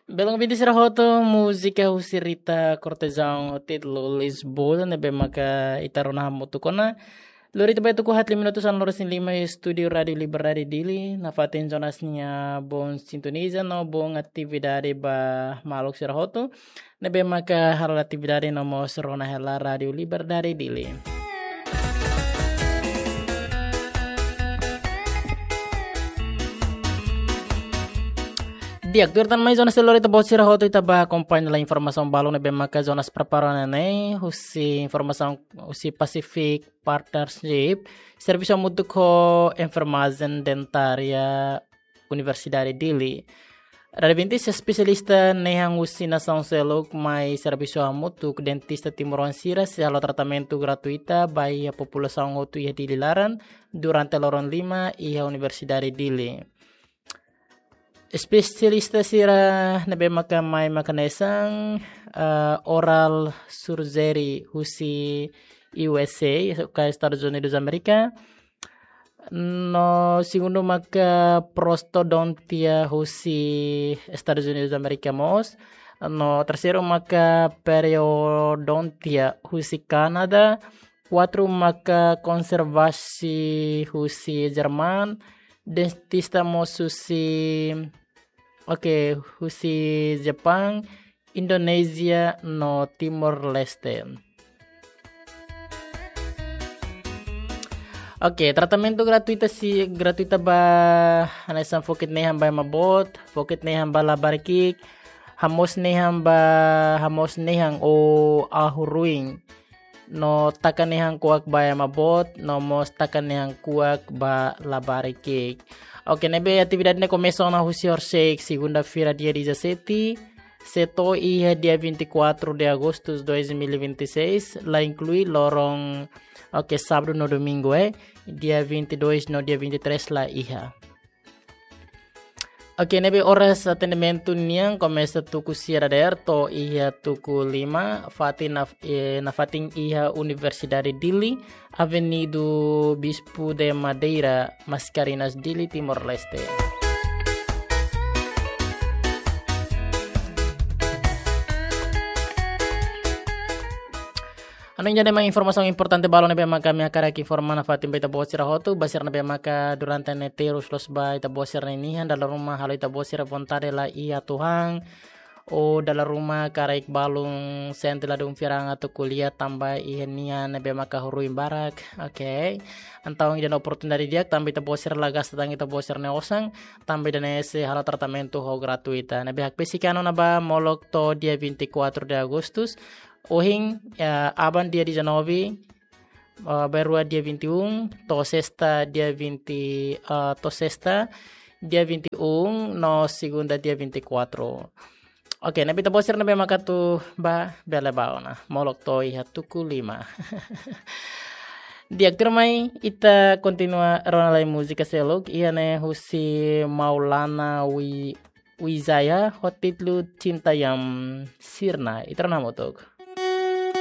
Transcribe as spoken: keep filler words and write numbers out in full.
Belun, ouvinte sira hotu, múzika husi Rita Cortejão ho títulu Lisboa, ne'ebé maka ita rona hamutuk ona. Lori ita ba tuku haat lima minutu sanulu-resin-lima iha estúdiu Rádiu Liberdade Dili, nafatin Jonas nia bom sintoniza no bom atividade ba maluk sira hotu, ne'ebé maka halo atividade no mós rona hela Rádiu Liberdade Dili. Di'ak, tuir tan mai Jonas, lori ita-boot sira hotu ita ba akompaña hela informasaun balun ne'ebé maka Jonas prepara ona ne'e, husi informasaun husi Pacific Partnership, servisu hamutuk ho enfermajen dentária Universidade Dili. Radeventi, espesialista nehan husi nasaun seluk mai servisu hamutuk dentista timoroan sira sei halo tratamentu gratuita ba iha populasaun hotu iha Dili laran durante loron lima iha Universidade Dili. Espesialista sira ne'ebé maka mai maka hanesan, eh, oral surgery husi U S A, ka Estados Unidos Amérika, no segundu maka prostodontia husi Estados Unidos Amérika mós, no terseiru maka periodontia husi Kanadá, kuatru maka konservasi husi Jerman, dentista mós husi, oke, husi Jepang, Indonézia no Timor-Leste. Oke, tratamentu gratuita sei, gratuita ba hanesan fokit nehan ba ema boot, fokit nehan ba labarik ki'ik, hamoos nehan ba, hamoos nehan ou ahu-ruin, no taka nehan kuak ba ema boot, no mós taka nehan kuak ba labarik ki'ik. Oke, ne'ebé atividade ne'e komesa ona husi horisehik segunda-feira dia dezassete, sei to'o iha dia vinte e quatro de agosto de dois mil e vinte e seis, la inklui loron, oke, sábadu no domingu, eh, dia vinte e dois no dia vinte e três la iha. Oke, ne'ebé oras atendimentu nian komesa tuku sia dadeer to'o iha tuku lima, fatin naf-, eh, nafatin iha Universidade Dili, Avenida Bispo de Madeira, Mascarenhas, Dili, Timor-Leste. Hanoin ida-ne'e mak informasaun importante balun ne'ebé maka ami hakarak informa nafatin ba ita-boot sira hotu, ba sira ne'ebé maka durante ne'e terus loos ba ita-boot sira-nia nian, dala ruma halo ita-boot sira vontade la iha atu han, ou dala ruma karik balun sente ladún fiar an atu ko'alia tanba iha nian ne'ebé maka ahu-ruin barak, oke. Entaun ida-ne'e oportunidade di'ak, tanba ita-boot sira la gasta tan ita-boot sira-nia osan, tanba ida-ne'e sei halo tratamentu ho gratuita. Ne'ebé hakbesik an ona ba molok to'o dia vinte e quatro de agosto, ohin, eh, aban dia dezanove, eh, bainrua dia vinte e um, to'o sesta dia vinte, eh, to'o sesta dia vinte e um, no segunda dia vinte e quatro. Oke, ne'ebé ita-boot sira ne'ebé maka atu ba bele ba ona. Molok to'o iha tuku lima. Di'ak, tuirmai ita kontinua rona lai múzika seluk, iha ne'e husi Maulana Wi-, Wijaya, ho títulu Cinta Yang Sirna, ita rona hamutuk.